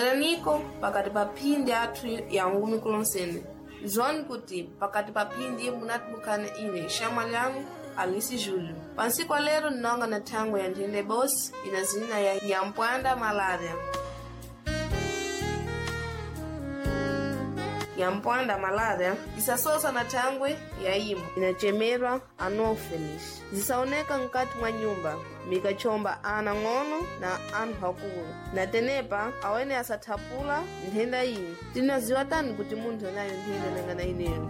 Bweraniko pakati pa phindi athu ya ngumi kulonsene. Zwani kuti pakati pa phindi munatibukana ine xamwa lyangu Alice Júlio. Pansiku lero nnonga na thangwe ya nthenda bosi ina zina ya nyampwanda malária. Nyampwanda malária isasosa na thangwe ya imo inachemerwa anopheles zisaoneka mkati mwa nyumba mikachomba ana ng'ono na anthu akulu na tenepa awene asathapula nthenda iyi. Tinaziwa tani kuti munthu anayo nthenda nangana ineyo?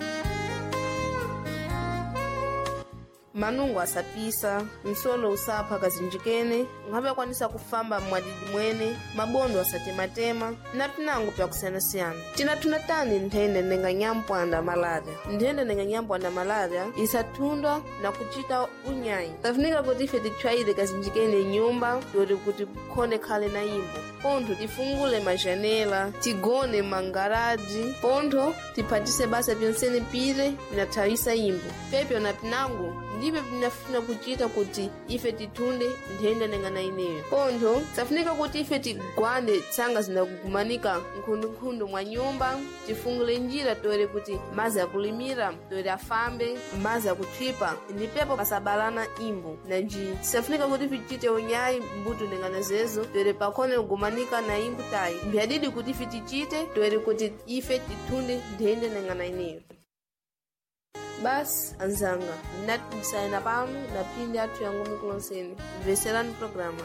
Manungo asapisa, msolo usapha kazinjikene, nkhabe akwanisa kufamba mwadidi mwene, mabondo asatematema na pinango pyakusiyanasiyana. Tinathunda tani nthenda nenga nyampwanda malária? Nthenda nenga nyampwanda malária isathundwa na kuchita unyayi. Tafunika kuti ife titchwayire kazinjikene nyumba yoti kuti kukhone khale na imbo. Pontho tifungule majanela, tigone mangaraji, pontho tiphatise basa pyonsene pire pinathawisa imbo. Pepyo na pinango ndipyo pinafuna kuchita kuti ife tithunde nthenda nengana ineyo. Pontho safunika kuti ife tigwande tsanga zinakugumanika nkhundunkhundu mwa nyumba, tifungule njira toere kuti mazi akulimira toere afambe, mazi akuthipa ndipepo pasabalana imbo. Nanji safunika kuti tichite unyayi mbuto nengana zezo toere pakhone kugumanika na imbo tayi. Mbyadidi kuti ife tichite toere kuti ife tithunde nthenda nengana ineyo. Basi anzanga ndinatimisana pano na phindi athu ya ngumi kulonsene. Mveserani programa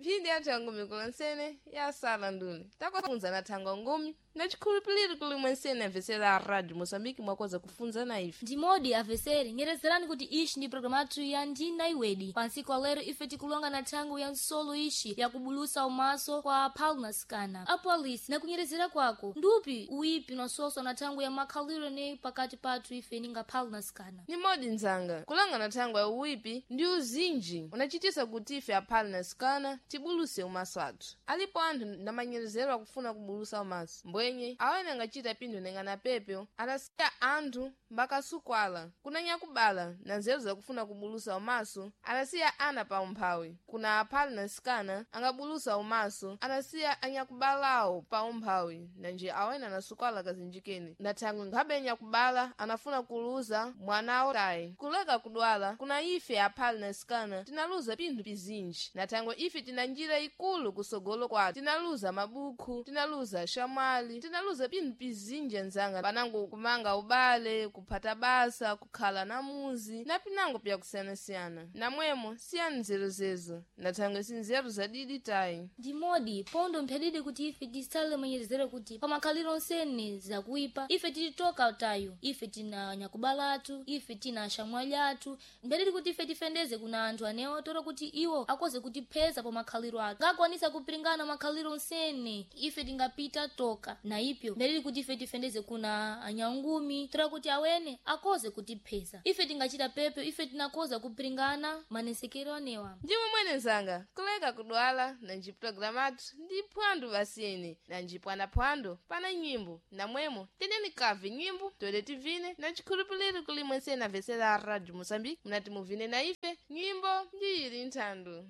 phindi athu ya ngumi kulonsene yasala nduni takufunza na thangwa ngumi na chikhulupiriro kuli mwensene amvesera a rádio Moçambique mwakoza kufunza na ife. Ndimodi avesere nyerezerani kuti ishi ndi programu athu ya ndina iwedi. Pansiku alero ife tikulonga na thangu ya nsolo ishi yakubulusa umaso kwa palnaskana apolisi nakunyerezera kwako ndupi uipi unasoswa na thangu ya makhaliro ne pakati pathu ife ninga palnaskana. Ni modi nzanga kulanga na thangwa ya uwipi ndi uzinji unachitisa kuti ife aphale na sikana tibuluse umaso athu. Alipo anthu ndamanyerezero akufuna kubulusa umaso mbwenye awene angachita pinthu nengana pepyo adasiya anthu mbakasukwala kuna nyakubala na nzeru zakufuna kubulusa umaso adasiya ana pa umphawi kuna aphale na sikana angabulusa umaso adasiya anyakubalawo pa umphawi nanje awene anasukwala kazinjikeni ndathangwe nkhabe nyakubala anafuna kuluza mwanawo tayi kuleka kudwala kuna ife aphale na sikana tinaluza pinthu pizinji nathangwe ife tina njira ikulu kusogolo kwathu tinaluza mabukhu, tinaluza shamwali, tinaluza pinthu pizinji anzanga panango kumanga ubale, kuphata basa, kukhala na muzi na pinango pyakusiyanasiyana. Namwemo siyani nzeru zezo nathangwe si nzeru zadidi tayi. Ndimodi pondo mphadidi kuti ife tisale mwenyerezero kuti pamakhaliro onsene zakuipa ife tilitoka tayo ife tina nyakubala athu ife tina ashamwali athu mphadidi kuti ife tifendeze kuna anthu anewo toro kuti iwo akoze kutipheza pa makhaliro athu ngakwanisa kupiringana makhaliro onsene ife tingapita toka na ipyo mphadidi kuti ife tifendeze kuna anyangumi tora kuti awene akoze kutipheza ife tingachita pepyo ife tinakoza kupiringana manesekero anewa. Ndimwe mwene nzanga kuleka kudwala nanji pulogalamu athu ndi phwando basiyeni nanji pwanaphwando pana nyimbo namwemo teneni kave nyimbo toere tivine na chikhulupiriro kuli mwensene amvesera a rádio Moçambique munati muvine na ife nyimbo ndi ili nthandu.